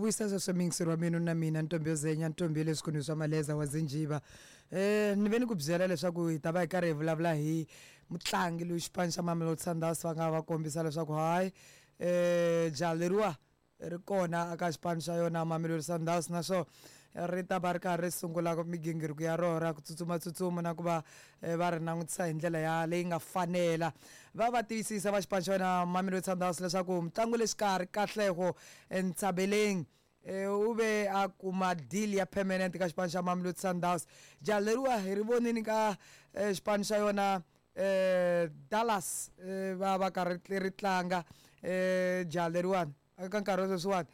vuyisa sweswo miyingiseri wa mina na mina ntombi yo zenya ntombi ya le swikhundleni swa maleza wa zinjiva. Ni ve ni ku byela leswaku hi ta va hi karhi hi vulavula hi mutlangi loyi xipano xa Mamelodi Sundowns va nga va kombisa leswaku hayi jaha leriwa ri kona eka xipano xa yona Mamelodi Sundowns, naswona ri ta va ri karhi ri sungula migingiriko ya rona ra ku tsutsumatsutsuma na ku va va ri langutisa hi ndlela ya leyi nga fanela. Va va tiyisisa va xipano xa yona Mamelodi Sundowns leswaku mutlangi wa le xikarhi Katlego Ntsabeleng u ve a kuma deal ya permanent ka xipano xa Mamelodi Sundowns. Jaha leriwa hi ri vonini ka xipano xa yona Dallas, va va karhi ri tlanga jaha leriwani eka nkarhi wa sweswiwani,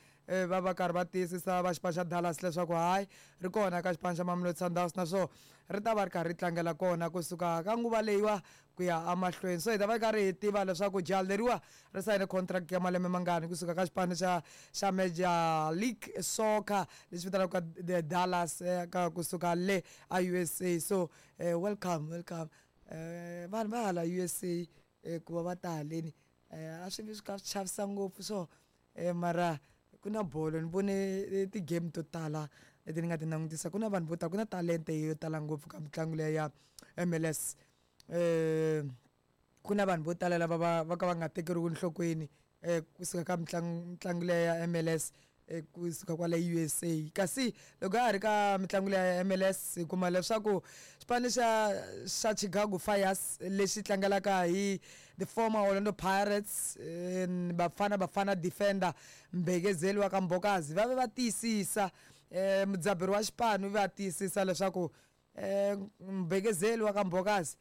va va karhi va tiyisisa va xipano xa Dallas leswaku hayi ri kona ka xipano xa Mamelodi Sundowns, naswona ri ta va ri karhi ri tlangela kona kusuka ka nguva leyiwa ku ya emahlweni. So hi ta va karhi hi tiva leswaku jaha leriwa ri sayine contract ya malembe mangani kusuka ka xipano xa Major League Soccer lexi vitaniwaka the Dallas, ka kusuka le a USA. So welcome, welcome vanhu va hala USA ku va va ta haleni, a swi vi swi kha swi chavisa ngopfu so, mara ku na bolo. Ni vone ti-game to tala leti ni nga ti langutisa, ku na vanhu vo tala, ku na talente yo tala ngopfu ka mitlangu leya ya MLS. Ku na vanhu vo tala lava va ka va nga tekeriwi enhlokweni kusuka ka mitlangu leya ya MLS kusuka kwale USA. Kasi loko ha ha ri ka mitlangu leya ya MLS, hi kuma leswaku xipano xa Chicago Fires lexi tlangelaka hi the former Orlando Pirates, Bafana Bafana defender Mbekezeli wa ka Mbokazi, va ve va tiyisisa, mudzaberi wa xipano va tiyisisa leswaku Mbekezeli wa ka Mbokazi,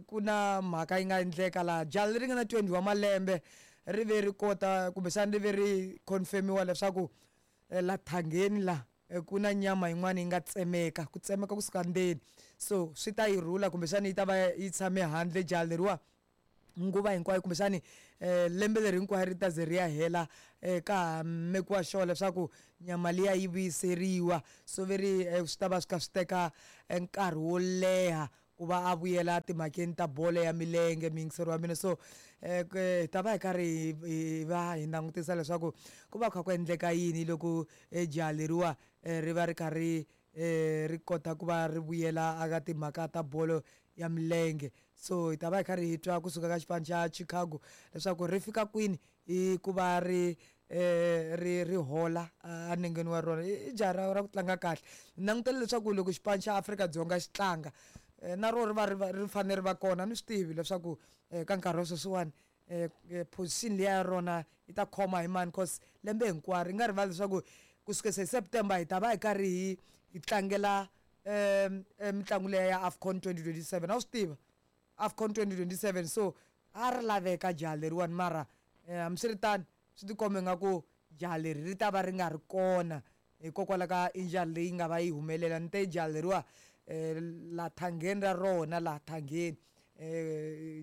ku na mhaka yi nga endleka laha. Jaha leri nga na 20 wa malembe ri ve ri kota kumbexana ri ve ri confirmiwa leswaku la thangeni la ku na nyama yin'wana yi nga tsemeka, ku tsemeka kusuka ndzeni, so swi ta yi rhula kumbexana yi ta va yi tshame handle jaha leriwa nguva hinkwayo, kumbexani lembe leri hinkwayo ri ta ze ri ya hela, ka ha mekiwa sure leswaku nyama liya yi vuyiseriwa. So ve ri swi ta va swi kha swi teka nkarhi wo leha ku va a vuyela timhakeni ta bolo ya milenge, muyingiseri wa mina. So hi ta va hi karhi hi va hi langutisa leswaku ku va kha ku endleka yini loko jaha leriwa ri va ri kha ri kota ku va ri vuyela eka timhaka ta bolo ya milenge. So hi ta va hi karhi hi twa kusuka ka xipano xa Chicago leswaku ri fika kwini hi ku va ri hola enengeni wa rona. I jaha ra ku tlanga kahle. Ni langutele leswaku loko xipano xa Afrika-Dzonga xi tlanga, na rona ri va ri va ri fanele ri va kona. Ni swi tivi leswaku ka nkarhi wa sweswiwani position liya ya rona yi ta khoma hi mani, cause lembe hinkwaro yi nga rivali leswaku kusukela hi September hi ta va hi karhi hi tlangela mitlangu leya ya AFCON 2027. A wu swi tiva AFCON 2027, so a ri laveka jaha leriwani, mara hambiswiritano swi tikombe nga ku jaha leri ri ta va ri nga ri kona hikokwalaho ka injury leyi nga va yi humelela. Ni te jaha leriwa la thangeni ra rona, la thangeni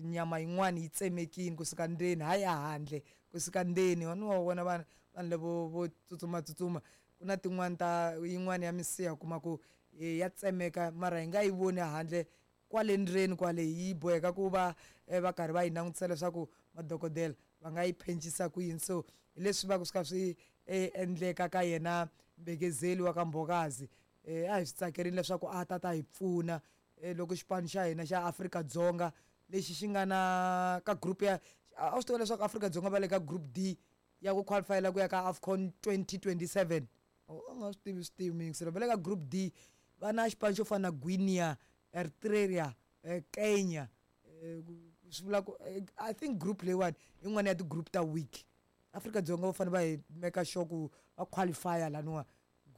nyama yin'wani yi tsemekini kusuka ndzeni, hayi ehandle, kusuka ndzeni. Wa ni wa vona vanhu lavo vo tsutsumatsutsuma, ku na tin'wani ta yin'wani ya misiha kuma ku ya tsemeka, mara hi nga yi voni handle, kwale ndzeni kwale yi boheka ku va va karhi va yi langutisa leswaku madokodela va nga yi phencisa ku yini. So hi leswi va ku swi kha swi endleka ka yena Mbekezeli wa ka Mbokazi. A hi swi tsakerini leswaku a ta ta hi pfuna loko xipano xa hina xa Afrika-Dzonga lexi xi nga na ka group ya, a swi tiva leswaku Afrika-Dzonga va le ka group D ya ku qualifyela ku ya ka AFCON 2027. U nga swi tivi, swi tivi muyingiseri, va le ka group D, va na xipano xo fana na Guinea, Eritrea, Kenya. Swi vula ku I think group leyiwani yin'wana ya ti-group ta weak. Afrika-Dzonga va fanele va hi make sure ku va qualify laniwa.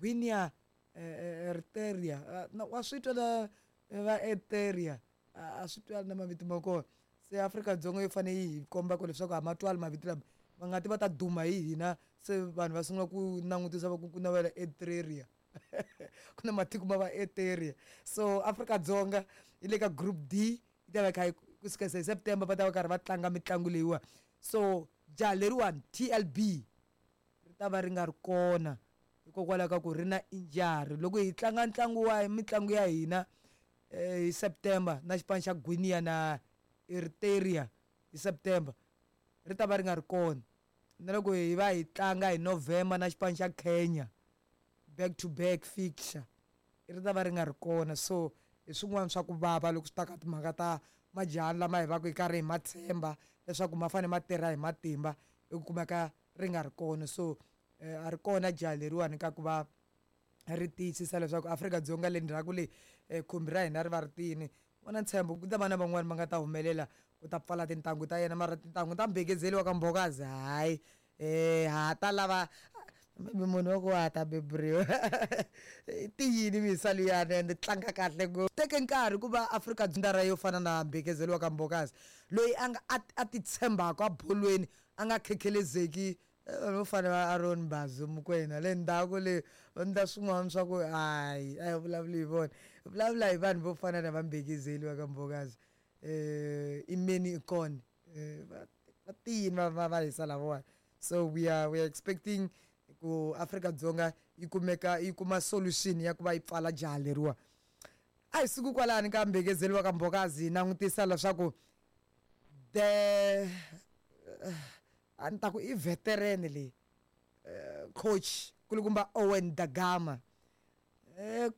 Guinea, Eritrea, wa swi twa na va Eritrea, a swi twali na mavito ma kona. Se Afrika-Dzonga yi fanele yi hi komba ku leswaku a ma twali mavito lama, va nga ti va ta duma hi hina, se vanhu va sungula ku langutisa va ku ku na va le Eritrea, ku na matiko ma va Eritrea. So Afrika-Dzonga yi le ka group D, yi ta va kha kusuka se hi September va ta va karhi va tlanga mitlangu leyiwa. So jaha leriwani TLB ri ta va ri nga ri kona hikokwalaho ka ku ri na injury loko hi tlanga ntlangu wa mitlangu ya hina hi September na xipano xa Guinea na Eritrea hi September, ri ta va ri nga ri kona. Na loko hi va hi tlanga hi November na xipano xa Kenya, back to back fixture, ri ta va ri nga ri kona. So hi swin'wana swa ku vava loko swi ta ka timhaka ta majahani lama hi va ku hi karhi hi ma tshemba leswaku ma fanele ma tirha hi matimba, i kumeka ri nga ri kona. So a ri kona jaha leriwani ka ku va ri tiyisisa leswaku Afrika-Dzonga le ndzhaku le, khumbi ra hina ri va ri tiyini. Va na ntshembo ku ta va na van'wani va nga ta humelela ku ta pfala tintangu ta yena, mara tintangu ta mbekezeli wa ka Mbokazi, hayi, ha ta lava maybe munhu wa ku wa ta beburiwa tiyini misa liyani ende tlanga kahle ngopfu. Teke nkarhi ku va Afrika Dzonga yo fana na mbekezeli wa ka Mbokazi, loyi a nga a ti tshembaka abolweni, a nga khekhelezeki vanhu vo fana va Aaron Bazo Mokoena le ndzhaku le, va endla swin'wana swa ku hayi, a hi vulavuli hi vona, hi vulavula hi vanhu vo fana na vambekezeli va ka Mbokazi, Imeni Ikone, va tiyini va hisa lavawani. So we are expecting ku Afrika-Dzonga yi kumeka yi kuma solution ya ku va yi pfala jaha leriwa. A hi suku kwalani ka mbekezeli wa ka Mbokazi, hi langutisa leswaku the a ni ta ku i veteran leyi, coach kulukumba Owen Da Gama.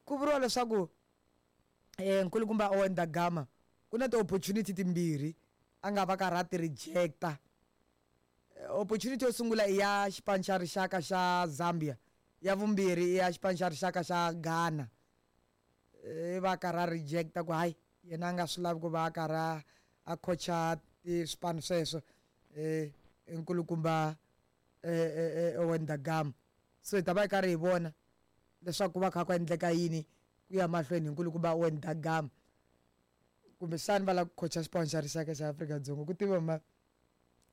Ku vuriwa leswaku nkulukumba Owen Da Gama ku na ti-opportunity timbirhi a nga va karhi a ti rejecta. Opportunity yo sungula i ya xipano xa rixaka xa Zambia, ya vumbirhi i ya xipano xa rixaka xa Ghana. Va karhi a rejecta ku hayi, yena a nga swi lavi ku va a karhi a coacha swipano sweswo, nkulukumba Owen Da Gama. So hi ta va hi karhi hi vona leswaku ku va kha ku endleka yini ku ya mahlweni hi nkulukumba Owen Da Gama. Kumbexani va lava ku coacha xipano xa rixaka xa Afrika-Dzonga, ku tiva ma,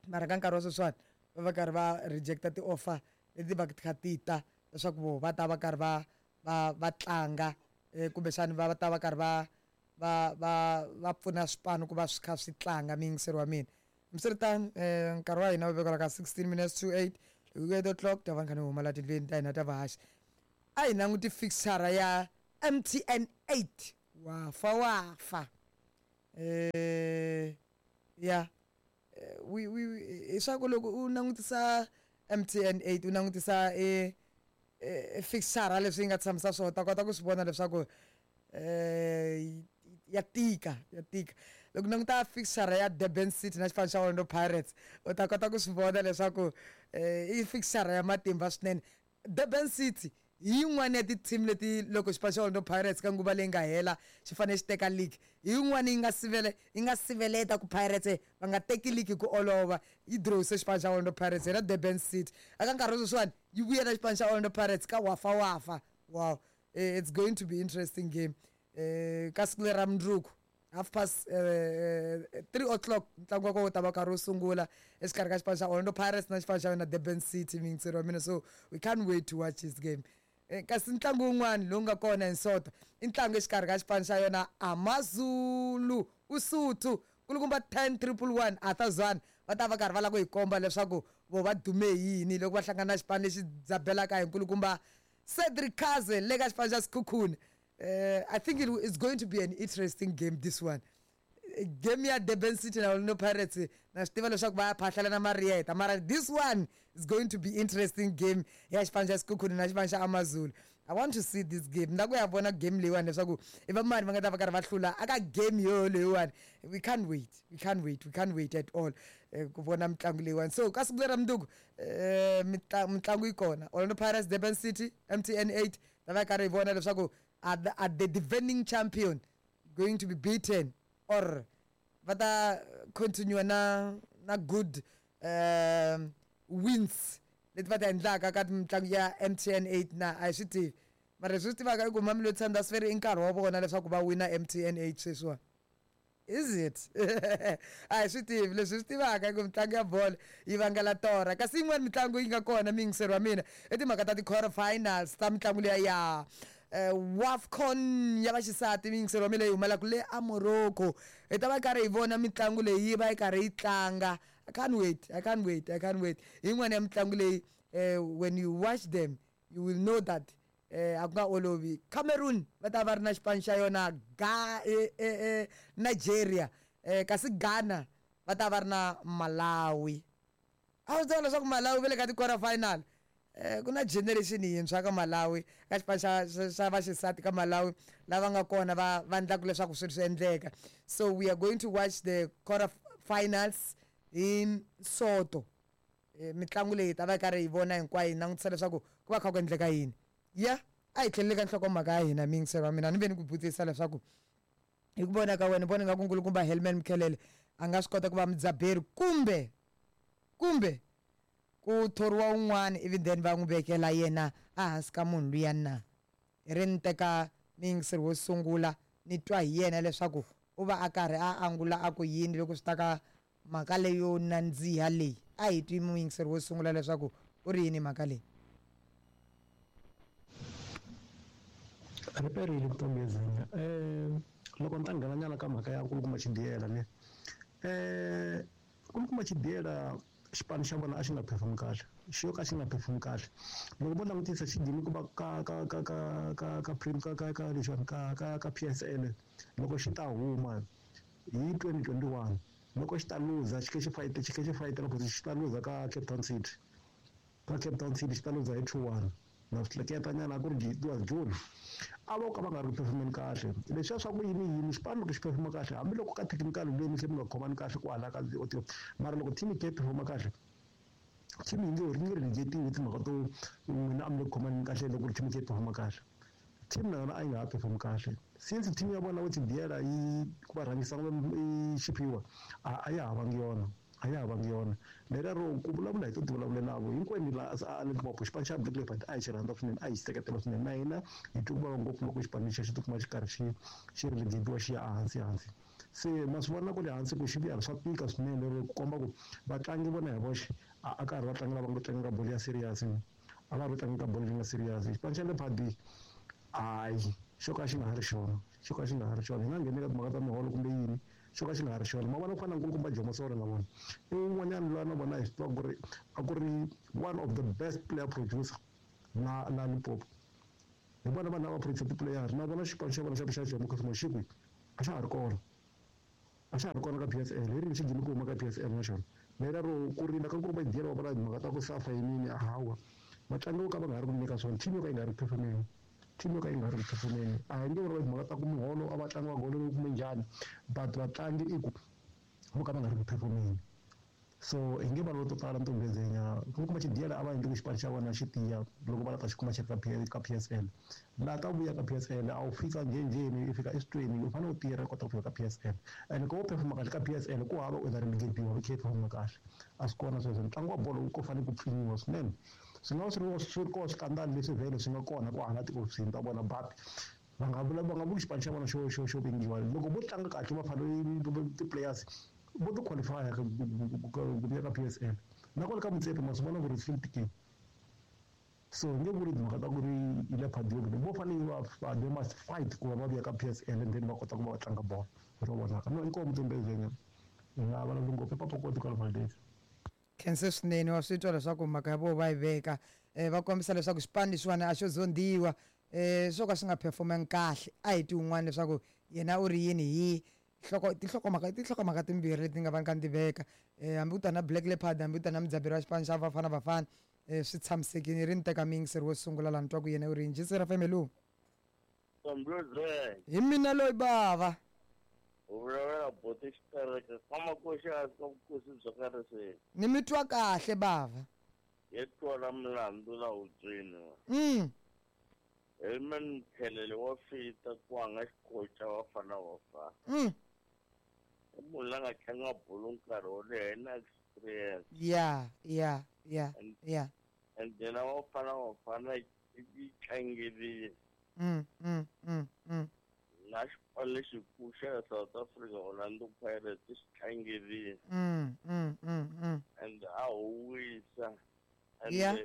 mara ka nkarhi wa sweswiwani va va karhi va rejecta ti-offer leti va ti kha ti ta leswaku vo va ta va karhi va tlanga, kumbexani va ta va karhi va pfuna swipano ku va swi kha swi tlanga. Muyingiseri wa mina, hambiswiritano, nkarhi wa hina wu vekela ka 16 minutes to 8. Loko ku 8 o'clock ta va ni kha ni huma la tindlwini ta hina ta vahaxi. A hi languti fixture ya MTN 8, wafa wafa, ya wi hi swa ku loko u langutisa MTN 8, u langutisa e fixture leswi yi nga tshamisa swona, ta kota ku swi vona leswaku ya tika, ya tika. Loko languta fixture ya Durban City na xipano xa Orlando Pirates, u ta kota ku swi vona leswaku i fixture ya matimba swinene. Durban City hi yin'wana ya ti-team leti loko xipano xa Orlando Pirates ka nguva leyi nga hela xi fanele xi teka league, hi yin'wana yi nga siveleta ku Pirates va nga teki league hi ku olova. Yi drawise xipano xa Orlando Pirates yena Durban City. Aka nkarhi wa sweswiwani yi vuya na xipano xa Orlando Pirates ka wafa wafa. Wow, it's going to be interesting game. Ka siku leri ra mundzuku, half past 3 o'clock, ntlangu wa kona wu ta va karhi wu sungula exikarhi ka xipano xa Orlando Pirates na xipano xa yona Durban City, miyingiseri wa mina. So we can't wait to watch this game. Kasi ntlangu wun'wana lowu nga kona hi Sonto i ntlangu exikarhi ka xipano xa yona Amazulu, Usuthu, kulukumba 10 111 Arthur Zwane, va ta va karhi va lava ku hi komba leswaku vo va dume hi yini loko va hlangana na xipano lexi dzabelaka hi nkulukumba Cedric Kaze le ka xipano xa Sekhukhune. I think it's going to be an interesting game, this one. Game ya Durban City na Orlando Pirates, na swi tiva leswaku va ya phahlela na mariyeta, mara this one is going to be interesting game ya xipano xa Sekhukhune na xipano xa Amazulu. I want to see this game, na ku ya vona game leyiwani leswaku i va mani va nga ta va karhi va hlula aka game yo leyiwani. We can't wait, we can't wait, we can't wait at all ku vona mitlangu leyiwani. So ka siku lera mundzuku, mitlangu yi kona, Orlando Pirates, Durban City, MTN 8. Ta va karhi hi vona leswaku are the defending champion going to be beaten or va ta continue na good wins leti va ta endlaka ka mitlangu ya MTN 8 na a hi swi tivi. Mara leswi swi tivaka i ku Mamelodi Sundowns veri i nkarhi wa vona leswaku va wina MTN 8 sweswiwani. Is it? A hi swi tivi. Leswi swi tivaka i ku mitlangu ya bolo yi vangela torha. Kasi yin'wani mitlangu yi nga kona, miyingiseri wa mina, i timhaka ta ti-quarter finals ta mitlangu liya ya WAFCON ya vaxisati, miyingiseri wa mina, leyi humelaka le a Morocco. Hi ta va karhi hi vona mitlangu leyi yi va yi karhi yi tlanga. I can't wait, I can't wait, I can't wait. Hi yin'wana ya mitlangu leyi, when you watch them you will know that a ku nga olovi. Cameroon va ta va ri na xipano xa yona ga Nigeria, kasi Ghana va ta va ri na Malawi. A swi tiva leswaku Malawi va le ka ti-quarter final. Ku na generation yintshwa ka Malawi ka xipano xa vaxisati ka Malawi lava nga kona va endlaka leswaku swilo swi endleka. So we are going to watch the quarter finals hi Soto. Mitlangu leyi ta va yi karhi hi vona hinkwayo hi langutisa leswaku ku va kha ku endleka yini. Ya a hi tlheleli ka nhlokomhaka ya hina miyingiseri wa mina ni ve ni ku vutisa leswaku hi ku vona ka wena vona nga ku nkulukumba Helman Mkhalele a nga swi kota ku va mudzaberi kumbe ku thoriwa un'wana ivi then va n'wi vekela yena ehansi ka munhu luya na. Hi ri ni teka muyingiseri wo sungula ni twa hi yena leswaku u va a karhi a angula a ku yini loko swi ta ka mhaka leyo nandziha leyi. A hi twi muyingiseri wo sungula leswaku u ri yini mhaka leyi. Riperile vutomi Zinya. Loko ni ta nghena nyana ka mhaka ya nkulukumba Chidiyela ne. Nkulukumba Chidiyela xipano xa vona a xi nga perform kahle. Xi yo ka xi nga perform kahle. Loko vo langutisa xi gcine ku va ka ka ka ka ka ka ka ka ka lexiwani ka ka ka PSL loko xi ta huma hi 2021 loko xi ta luza xi khe xi fight xi khe xi fight loko xi ta luza ka Cape Town City. Ka Cape Town City xi ta luza hi 2-1. Na swi hleketa nyana a ku ri it was June. A vo ka va nga ri ku performeni kahle. Leswiya swa ku yini yini xipano loko xi performa kahle hambiloko ka technical leyi mi tlhe mi nga khomani kahle kwala ka mara loko team yi kha yi performa kahle team yi nge ri nge relegatiwi timhaka to n'wina a mi le ku khomaneni kahle loko team yi kha yi performa kahle. Team na yona a yi nga ha perform kahle. Since team ya vona vo Chidiyela yi ku va rhangisa i Xiphiwa a ya ha vangi yona. A ya ha vangi yona. Leriya ro ku vulavula hi to ti vulavulelavo hinkwenu la a Limpopo xipano xa Black Leopard a hi xi rhandza swinene a hi xi seketela swinene na hina hi twe ku vava ngopfu loko xipano lexiya xi tikuma xi karhi xi relegatiwa xi ya ehansi hansi. Se ma swi vona ku le hansi ku xi vuya swa tika swinene lero ku komba ku vatlangi vona hi voxe a ka ha ri vatlangi lava nga tlangaka bolo ya serious a va ri tlangaka bolo leyi nga serious. Xipano xa Leopard hayi xo ka xi nga ha ri xona xo ka xi nga ha ri xona hi nga ngheni ka timhaka ta miholo kumbe yini xo ka xi nga ha ri xona. Ma vona ku fana na nkulukumba Jomo Sono na vona i wun'wanyana loyi na vona hi swi tiva ku ri a ku ri one of the best player producer la Limpopo. Hi vona vanhu lava producer ti-player na vona xipano xa vona xa xa Jomo Cosmos xi kwihi a xa ha ri kona. A xa ha ri kona ka PSL hi rini xi gcine ku huma ka PSL na xona. Leriya ro ku rila ka nkulukumba Chidiyela va vula timhaka ta ku safa yinini hawa vatlangi vo ka va nga ha ri ku nyika swona team yo ka yi nga ri ku performeni. Team yo ka yi nga ri ku performeni. A hi nge vuri timhaka ta ku muholo a vatlangi va goleriwe kumbe njhani but vatlangi i ku vo ka va nga ri ku performeni. So hi nge vulavuli to tala ntombi Zinya. Nkulukumba Chidiyela a va endli ku xipano xa vona xi tiya loko va la ta xi kuma xi ri ka PSL. Laha ka vuya ka PSL a wu fika njhenjheni i fika eswitweni u fanele u tirha u kota ku fika ka PSL. And ku vo performa kahle ka PSL ku hava u ta relegatiwa u khe u performa kahle. A swi kona sweswo ntlangu wa bolo wu ko fanele ku pfinyiwa swinene. Swi nga va swi ri kona swikandali leswi vhele swi nga kona kwahala tihofisini ta vona but va nga vula va nga vuli xipano xa vona xo vengiwa. Loko vo tlanga kahle va fanele ti-players vo ti qualify ku ya ka PSL. Na kwale ka Motsepe ma swi vona ku ri swi tikile. So nge vuli timhaka ta ku ri i Leopard yo vo fanele va they must fight ku va va vuya ka PSL and then va kota ku va va tlanga bolo ro vonaka. No inkomu ntombi Zinya. Hi nga vulavuli ngopfu i Papa Koti kwala Valdez. Khense swinene wa swi twa leswaku mhaka ya vona va yi veka va kombisa leswaku xipano lexiwani a xo zondiwa swo ka swi nga performangi kahle. A hi twi un'wana leswaku yena u ri yini hi tinhlokomhaka timbirhi leti nga va ka ni veka hambi u ta na Black Leopard hambi u ta na mudzaberi wa xipano xa Bafana Bafana swi tshamisekile ri ni teka miyingiseri wo sungula laha ni twa ku yena u ri yini. Jisi ra FM hi mina loyi bava. U vulavula boti xitereke ka makoxi a ka vukosi bya karhi se. Ni mi twa kahle bava. Hi twala milandzu la hubyeni. Helman Mkhalele wa fita ku a nga xikoxa Bafana Bafana. I munhu la nga tlanga bolo nkarhi wo leha na experience. Yeah. And then Bafana Bafana yi tlangerile. Na xipano lexikulu xa South Africa Orlando Pirates xi tlangerile. And a huwisa. And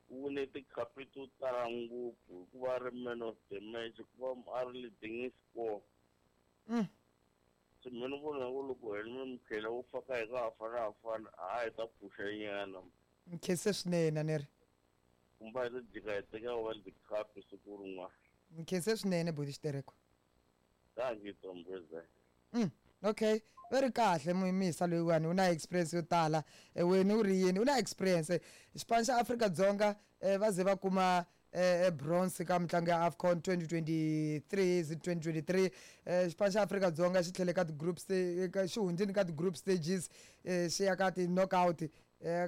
u wine tikhapi to tala ngopfu hikuva a ri man of the match hikuva a ri leading score. Se mina ni vona ku loko Helman Mkhalele wo faka hi ka Bafana Bafana a hi ta pfuxa nyana. Nkhense swinene a ni ri. Kumbe hi ta jika hi teka World Cup siku rin'wana. Nkhense swinene buti Xitereko. Thank you, Tom President. Okay, va ri kahle muyimisa loyiwani u na experience yo tala. Wena u ri yini? U na experience. Xipano xa Afrika-Dzonga va ze va kuma bronze ka mitlangu ya AFCON 2023, is it 2023? Xipano xa Afrika-Dzonga xi tlhele ka ti-group, xi hundzini ka ti-group stages, xi ya ka ti-knockout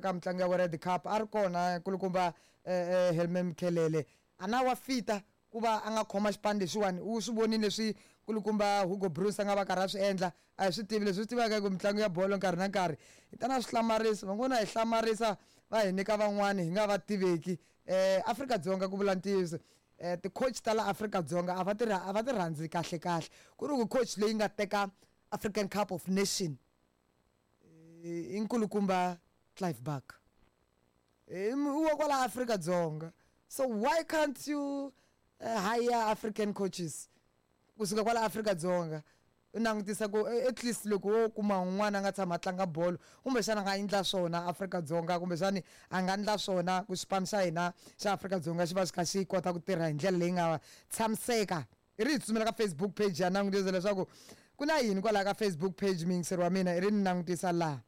ka mitlangu ya World Cup. A ri kona kulukumba Helman Mkhalele, a na wa fita ku va a nga khoma xipano lexiwani. U swi vonile leswi kulukumba Hugo Broos a nga va karhi a swi endla. A hi swi tivi leswi swi tivaka ku mitlangu ya bolo nkarhi na nkarhi hi ta na swi hlamarisa, van'wana hi hlamarisa va hi nyika van'wani hi nga va tiveki. Afrika-Dzonga, ku vula ntiyiso, ti-coach ta la Afrika-Dzonga a va ti rhandzi kahle kahle. Ku ri ku coach leyi nga teka African Cup of Nation i nkulukumba Clive Barker, wa kwala Afrika-Dzonga. So why can't you hire African coaches kusuka kwala Afrika-Dzonga? U langutisa ku at least loko wo kuma un'wana a nga tshama a tlanga bolo, kumbexana a nga endla swona Afrika-Dzonga, kumbexani a nga endla swona ku xipano xa hina xa Afrika-Dzonga xi va xi kha xi kota ku tirha hi ndlela leyi nga tshamiseka. I ri hi tsutsumela ka Facebook page ya langutisa leswaku ku na yini kwalaha ka Facebook page. Muyingiseri wa mina, i ri ni langutisa laha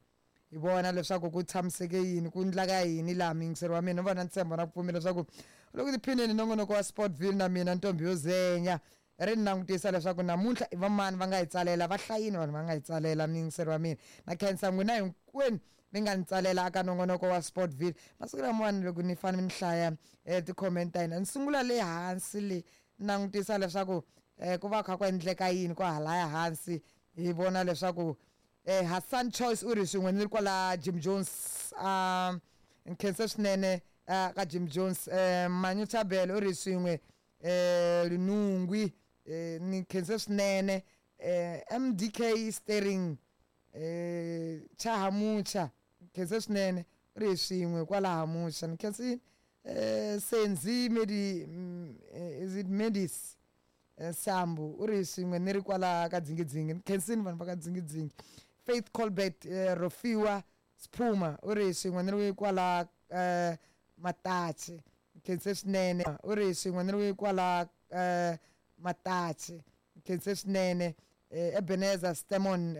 hi vona leswaku ku tshamiseke yini, ku ndlaka yini laha. Muyingiseri wa mina, ni vona ntshembo na ku pfumela leswaku loko tiphineni nongonoko wa Sportville na mina Ntombi yo Zenya. Ri ni langutisa leswaku namuntlha i vamani va nga hi tsalela, va hlayini vanhu va nga hi tsalela. Muyingiseri wa mina, na khensa n'wina hinkwenu mi nga ni tsalela aka nongonoko wa Sportville. Masiku lamawani loko ni fanele ni hlaya ti-comment ta hina, ni sungula le hansi le langutisa leswaku ku va kha ku endleka yini kwahalaya hansi. Hi vona leswaku Hassan Choice u ri swin'we ni ri kwala Jim Jones, nkhense swinene ka Jim Jones. Manyuchabele u ri swin'we Lunungwi, ni khense swinene. MDK Steering Chahamucha, khense swinene, u ri swin'we kwala Hamucha, ni khense. Senzi Medi, is it Medis Sambu, u ri swin'we ni ri kwala ka Dzingidzingi, ni khensini vanhu va ka Dzingidzingi. Faith Colbert Rofiwa Sphuma u ri swin'we ni ri kwala Matachi, khense swinene, u ri swin'we ni ri kwala Matachi, khense swinene. Ebenezer Stemon.